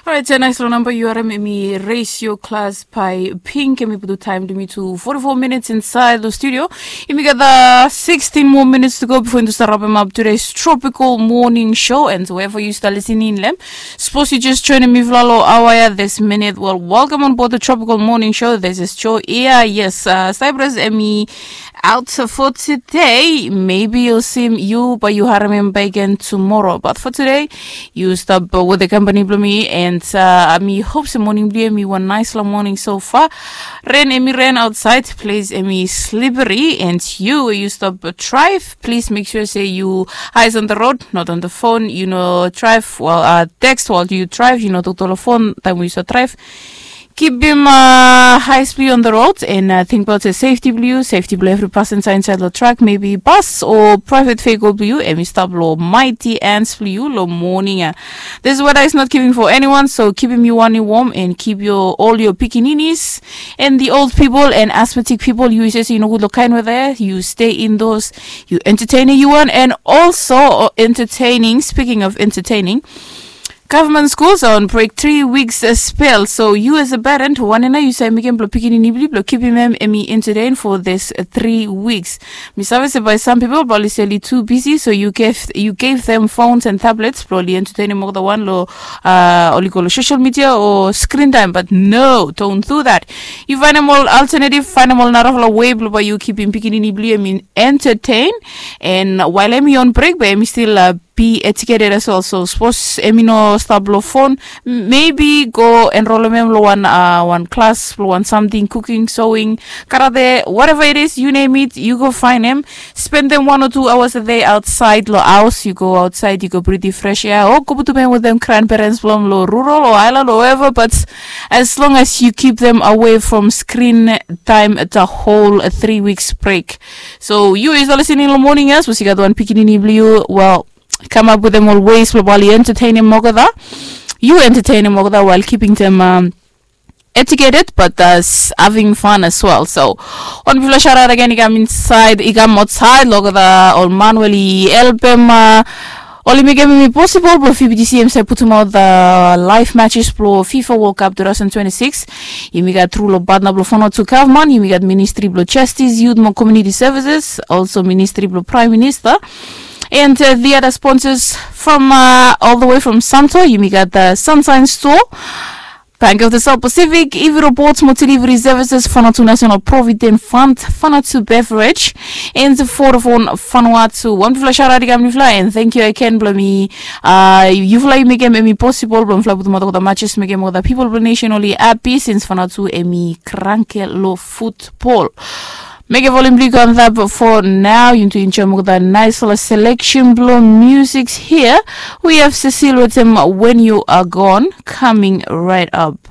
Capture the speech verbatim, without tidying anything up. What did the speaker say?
Orait, ya nais long namba yu harim em i Raise Your Class by Pink. Em i putum taem blong yumi tu forty-four minutes inside the studio. Yumi gat uh, sixteen more minutes to go before yumi start wrapping up today's Tropical Morning Show. And wherever you start listening long hem, suppose you just joining me vlalo awaya this minute. Well, welcome on board the Tropical Morning Show. This is Joe. Yeah, yes, uh, Cyprus em i out for today. Maybe you'll see you, but you harim em back again tomorrow. But for today, yu stap wetem kampani blong mi, and uh, mi hop se moning blong yu em i wan naesfala moning so far. Ren em i ren aotsaed, ples em i slippery, and yu we yu stap draev, plis mek sua se yu eyes on the road, not on the phone. Yu no draev, well, uh, text while yu draev, yu no toktok long fon taem we yu stap draev. Kipim uh, eyes blong yu on the road and uh, tingbaot se safety blong yu, safety blong evri pasenja insaed long trak, maybe bas o praevet vehicle blong yu, em i stap long mighty hands blong yu long moning ya. This weather is not giving for anyone, so kipim yu wan i wom and keep your all your pikininis and the old people and asthmatic people. Yu se yu nogud long kaen weather ya, yu stay indoors, yu entertaining yu wan. And also uh, entertaining, speaking of entertaining, government schools are on break three weeks uh, spell. So you as a parent, wanem nao yu save mekem blong pikinini blong yu blong kipim em em i entertain for this uh, three weeks? Mi save se by some people, but oli se oli too busy, so you gave you gave them phones and tablets blong oli entertainim olgeta wan long uh, oli go long social media o screen time. But no, don't do that. Yu faenem ol alternative, faenem ol narafala way blong bae yu kipim pikinini blong yu em i entertain. And while em i on break, bae em i still uh, be educated as well. So suppose em i no stap long fon, maybe go enrolem em long wan uh, wan klas blong wan samting, cooking, sewing, karate, whatever it is, you name it, yu go faenem. Spendem wan o tu aoas a dei aotsaed long haos. Yu go aotsaed, yu go britim fresh air, o go putum em wetem grandparents blong hem long rural o aelan o wherever. But as long as yu kip dem away from screen time, the whole uh, three weeks break. So yu yu stap listening long moning ya, sapos yu gat wan pikinini blong yu, well, come up with them always blong bae oli entertainim olgeta. Yu entertainim olgeta while keeping them um, educated, but uh, having fun as well. So wan bigfala shout out again i kam insaed, i kam aotsaed long olgeta ol man we oli helpem uh, oli mekem em i possible blong V B T C em save putumaot the live matches blong FIFA World Cup two thousand twenty-six. Yumi gat tru long partner blong Vanuatu Government, yumi gat Ministry blong Justice, Youth mo Community Services, also Ministry blong Prime Minister, and uh, the other sponsors from uh, all the way from Santo. Yumi gat the Sunshine Store, Bank of the South Pacific, Ivi Robots mo Delivery Services, Vanuatu National Provident Fund, Vanuatu Beverage, and Vodafone Vanuatu. Wan bigfala shout out i kam long yufala, and thank you again blong mi uh, yufala yu mekem em i possible blong mifala putumaot olgeta matches, mekem olgeta pipol blong nation oli happy since Vanuatu em i kranke long futbol. Mekem volume blong yu go antap for now. Yu tu enjoem olgeta naesfala selection blong music here. We have Cecile wetem When You Are Gone coming right up.